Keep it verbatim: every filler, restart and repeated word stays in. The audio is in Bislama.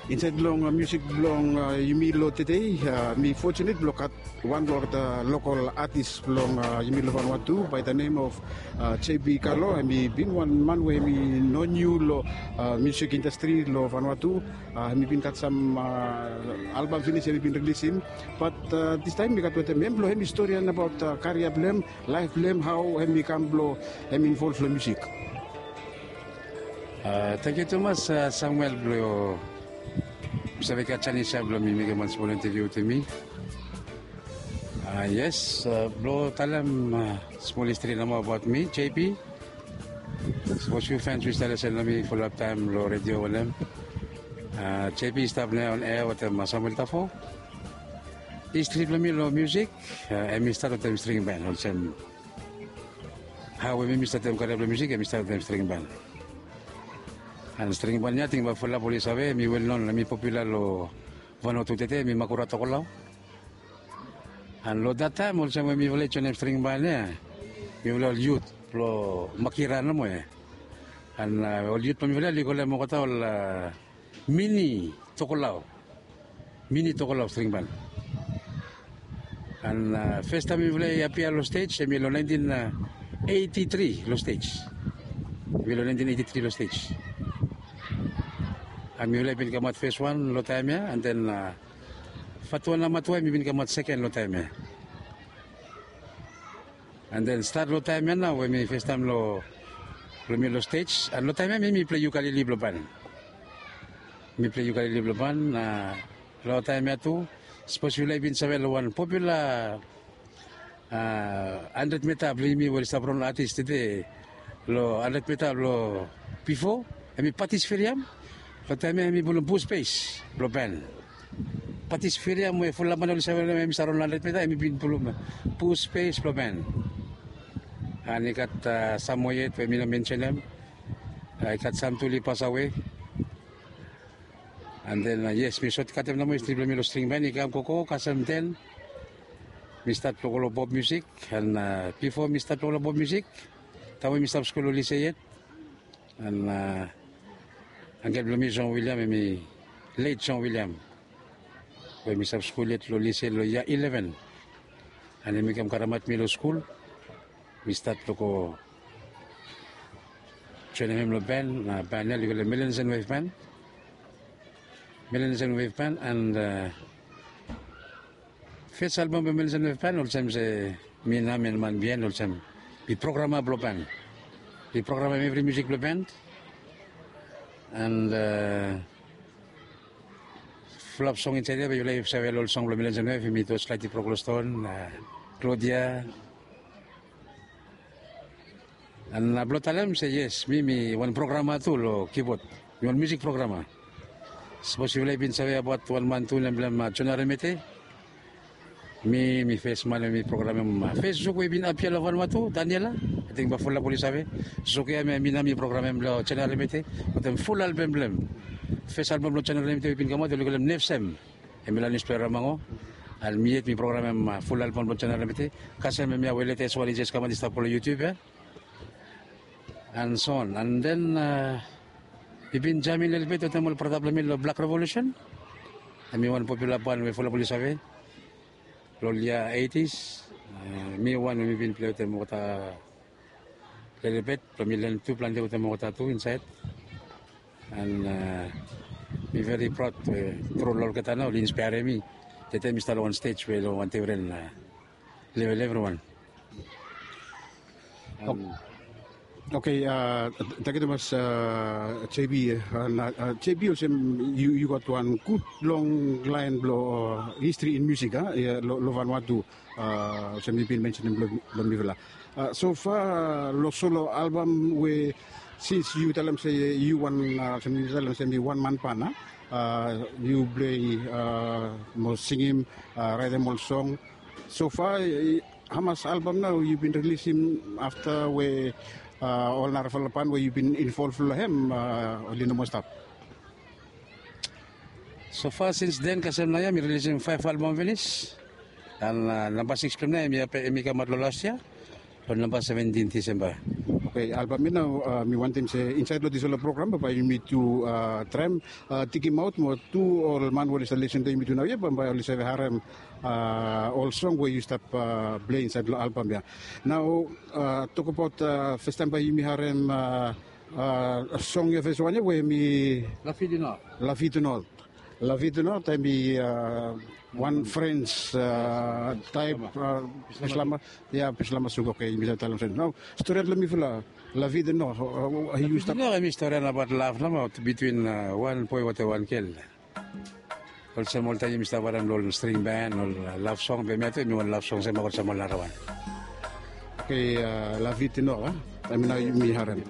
Insaed long miusik blong yumi long tedei, mi fortunate blong gat wan blong olgeta lokol atis blong yumi long Vanuatu by the name of J B Kalo. Hem i bin wan man we hem i non yu long miusik indastri long Vanuatu. Hem i bin gat sam albam finis hem i bin rilisim. Bat distaem mi gat wetem hem blong hem i storian abaot karia blong hem, laef blong hem, hao hem i kam blong hem involv long miusik. Tangkiu tumas Samuel blong mi save gat janis ya blong mi mekem wan smol intaviu wetem mi. Yes, blong talem smol histri nomo abaot mi, J B. Sapos yu fens yu stap lesen long mi fulap taem long redio wanem, J B i stap nao on ea wetem Samuel Tafo. Histri blong mi long miusik, hem i stat wetem string ban olsem hao we mi mi statem karia blong miusik, hem i stat wetem string ban. An string ban ya ating bae fulap oli save, hem i wel non, hem i popula long Vanuatu tede, hem i Makura Tokolao. An long dat taem olsem we mifala i joenem string ban ya, mifala ol yut blong Makira nomo ya. An ol yut blong mifala oli kolem olgeta ol mini Tokolao, mini Tokolao string ban. An fes taem mifala i apia long stej hem i long naentin eiti tri long stej. Hem i long naentin eiti tri long stej. An mifala i bin kamaot fes wan long taem ya, an den Fatua Namatua hem i bin kamaot seken long taem ya. An den stat long taem ya nao we mi fes taem long mi long stej, an long taem ya mi mi plei yukalili blong ban. Mi plei yukalili blong ban. Long taem ya tu, sapos yufala i bin save long wan popula handred mita blong yumi we oli stap ron atis tede, long handred mita blong bifo, hem i Patis Firiam. Long taem ya hem i pulum bus pes blong ban. Patis Firiam we fulap man oli save long hem, hem i stap ron handred mita, hem i bin pulum bus pes blong ban. An i gat sam moa yet we mi no mensenem. I gat sam tu oli pasawe. An den yes, mi sotkatem nomo histri blong mi long string ban. I kam gogo kasem den mi stat blong go long pop miusik. An bifo mi stat blong go long pop miusik, taem we mi stap skul long lise yet, an angkel blong mi John William, hem i leit John William, we mi stap skul yet long lise long yia ileven. An hem i kam karemaot mi long skul. Mi stat blong go joenem hem long ban, na ban ya oli kolem Melanesian Wave Ban. Melanesian Wave Ban, an fes albam blong Melanesian Wave Ban olsem se mi nao mi man biaen olsem mi programa blong ban. Mi programem evri miusik blong ban. An fulap song insaed ya, be yufala i save ol song blong Melanesian Wave, hem i Torchlight i Brok long Ston, Claudia. An blong talem se yes, mi mi wan programa tu long kibod. Mi wan miusik programa. Sapos yufala i bin save abaot wan man tu nem blong hem John Aremete. Mi mi fes man we mi programem fes zuk we i bin apia long Vanuatu, Daniela. Ating bae fulap oli save. Zuk ya mi nao mi programem blong John Aremete wetem ful albam blong hem. Fes albam blong John Aremete we i bin kamaot oli kolem Nefsem. Hem i long niuspepa Ramango. An mi yet mi programem ful albam blong John Aremete. Kasem hemia we latest wan i jes kamaot i stap long YouTube ya. An so on. An den mi bin jaming lelebet wetem ol brata blong mi long Black Revolution. Hem i wan popula ban we fulap oli save. Long yia eighties, mi wan we mi bin plei wetem olgeta lelebet, blong mi lanem tu plante wetem olgeta tu insaed. An mi veri praod we tru long olgeta nao oli inspairim mi. Tede mi stap long wan stej we long wan defren level evriwan. Oke, tangkiu tumas J B. J B, olsem yu gat wan gud long laen blong histri in miusik long Vanuatu, olsem yu bin mensenem long mifala. So fa long solo albam we sins yu talem se yu wan, olsem yu talem se mi wan man ban, yu plei mo singim, raetem ol song. So fa hamas albam nao yu bin rilisim afta we ol narafala ban we yu bin involv long hem oli no moa stap? So fa sins den kasem naoia mi rilisim faef albam finis. An namba sikis blong hem naoia hem i kamaot long las yia long namba seventin Disemba. Oke, albam ya nao mi wantem se insaed long dispela program bae yumi tu traem, tikimaot mo tu ol man we oli save lesen to yumi tu nau ya bae oli save harem ol song we yu stap pilei insaed long albam ya. Nao, tokabaot fastaem bae yumi harem song ya fes wan ya we mi lavitinol. Lavitinol taem i wan frens taep pislama. Ya pislama suga oke yumi save talem sen nao. Storiaot long mifala, lavitinol. Yu stap no em i storian abaot lav namaot bitwin wan boe wate wan gel. Olsem oltaem yumi stap harem long ol string ben ol lav song be mi ato em i wan lav song sem olsem ol narawan. Oke, lavitinol a taem nao yumi harem.